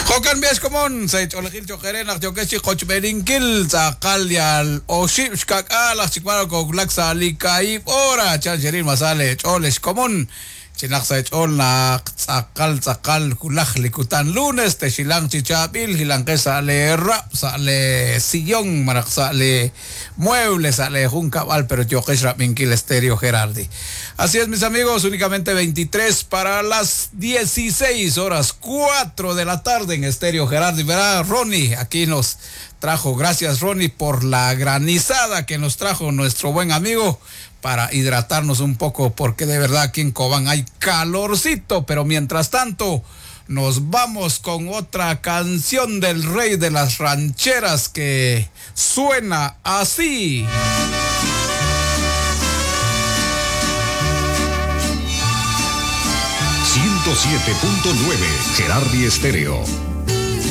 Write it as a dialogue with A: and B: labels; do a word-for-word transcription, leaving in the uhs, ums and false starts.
A: Jo'kan b'i xkomon sa' ch'oolejil cho'q eere naq yookex chi qochb'eeninkil tz'aqal yal oxib' xka'k'aal aj chik b'ar koowulak sa' li kaahib' hora chan xeril masal eech'ool xkomon chinaq sa' eech'ool naq tz'aqal tz'aqal wulaj li kutan lunes texilanq chi chaab'il jilanqex sa' lee rab' sa' lee sillón malaj sa' lee mueble sa' lee junkab'al pero yooqex rab'inkil Estéreo Gerardi. Así es, mis amigos, únicamente veintitrés para las dieciséis horas cuatro de la tarde en Estéreo Gerardi. Verá, Ronnie, aquí nos trajo, gracias Ronnie por la granizada que nos trajo nuestro buen amigo para hidratarnos un poco, porque de verdad aquí en Cobán hay calorcito, pero mientras tanto nos vamos con otra canción del rey de las rancheras que suena así.
B: ciento siete punto nueve Gerardi Estéreo.